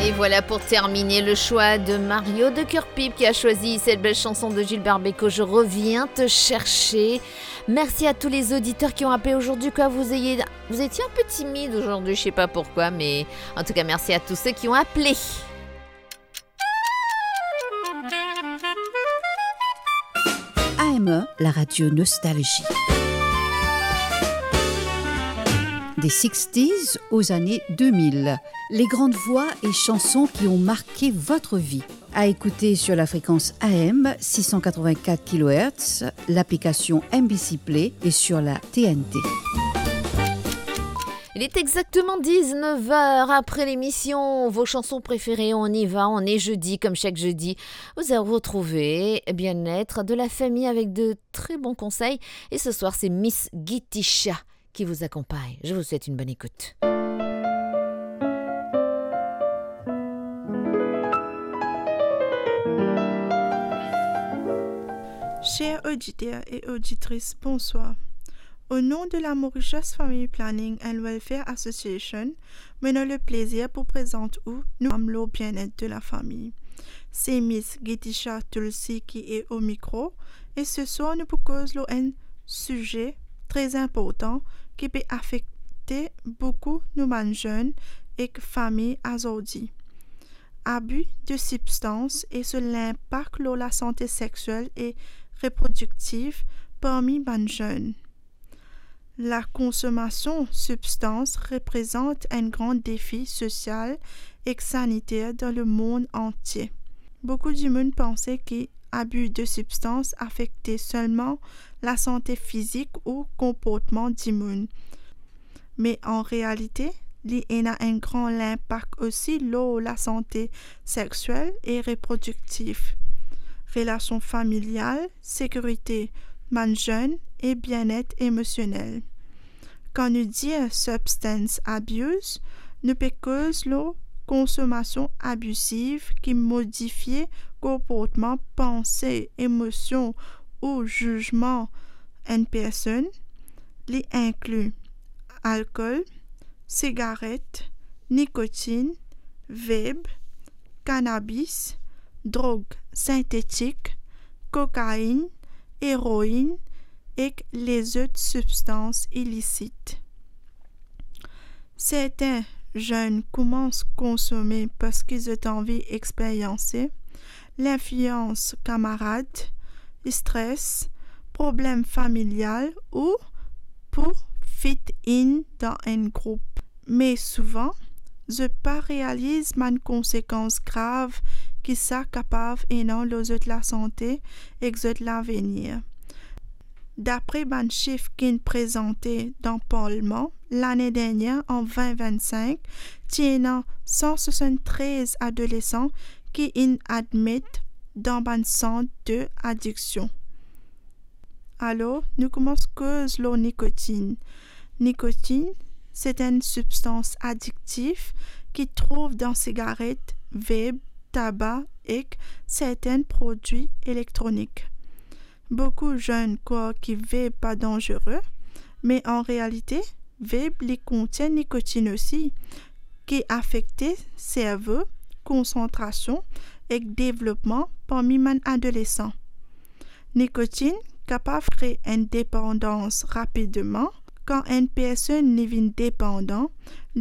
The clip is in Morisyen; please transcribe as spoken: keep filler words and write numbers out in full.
Et voilà pour terminer le choix de Mario de Kerpip qui a choisi cette belle chanson de Gilbert Bécaud, Je reviens te chercher. Merci à tous les auditeurs qui ont appelé aujourd'hui, que vous ayez, vous étiez un peu timide aujourd'hui, je sais pas pourquoi, mais en tout cas, merci à tous ceux qui ont appelé. A M E, la radio Nostalgie. Des sixties aux années deux mille, les grandes voix et chansons qui ont marqué votre vie. À écouter sur la fréquence A M six cent quatre-vingt-quatre kilohertz, l'application M B C Play et sur la T N T. Il est exactement dix-neuf heures après l'émission. Vos chansons préférées, on y va, on est jeudi, comme chaque jeudi. Vous allez retrouver bien-être de la famille avec de très bons conseils. Et ce soir, c'est Miss Gitisha qui vous accompagne. Je vous souhaite une bonne écoute. Chers auditeurs et auditrices, bonsoir. Au nom de la Mauritius Family Planning and Welfare Association, mo ena leplezir pou prezant ou nou program lor bienet de lafami. Se Miss Gitisha Tulsi ki e o mikro, e seswar nou pou koz lor enn size tre inportan ki pe afekte boukou nou bann zenn ek fami azordi. Abi de sibstans e so linpak lor lasante sexiel e reprodiktif parmi bann zenn. Lakonsomasion sibstans reprezant enn gran defi sosial ek saniter dan lemond antie. Boukou dimoun panse ki abi de sibstans afekte selman lasante fizik ou konportman dimoun. Me an realite, li ena enn gran linpak osi lor lasante sexiel e reprodiktif, relasion familial, sekirite bann zenn e bienet emosionel. Kan nou dir substance abuse, nou pe koz lor konsomasion abiziv ki modifie konportman, panse, emosion ou zizman enn personn. Li inkli alkol, sigaret, nikotinn, veb, kanabis, drog sintetik, kokainn, eroinn ek lezot sibstans ilisit. Sertin zenn koumans konsome parski zot anvi experyanse linflians kamarad, stres, problem familial ou pou fit in dan enn group. Me souvan, zot pa realiz bann konsekans grav ki sa kapav ena lor zot lasante ek zot lavenir. Dapre bann sif ki'nn prezante dan parlman lane dernier, an vin vinn-sink, ti ena san swasanntrez adolesan ki inn admet dan bann sant de adiksion. Alor, nou koumans koz lor nikotinn. Nikotinn, se enn sibstans adiktif ki trouv dan sigaret, veb, taba ek sertin prodwi elektronik. Boukou zenn krwar ki veb pa danzere, me an realite, veb li kontenn nikotinn osi, ki afekte servo, konsantrasion ek devlopman parmi bann adolesan. Nikotinn kapav kre enn depandans rapidman. Kan enn personn li vinn depandan, li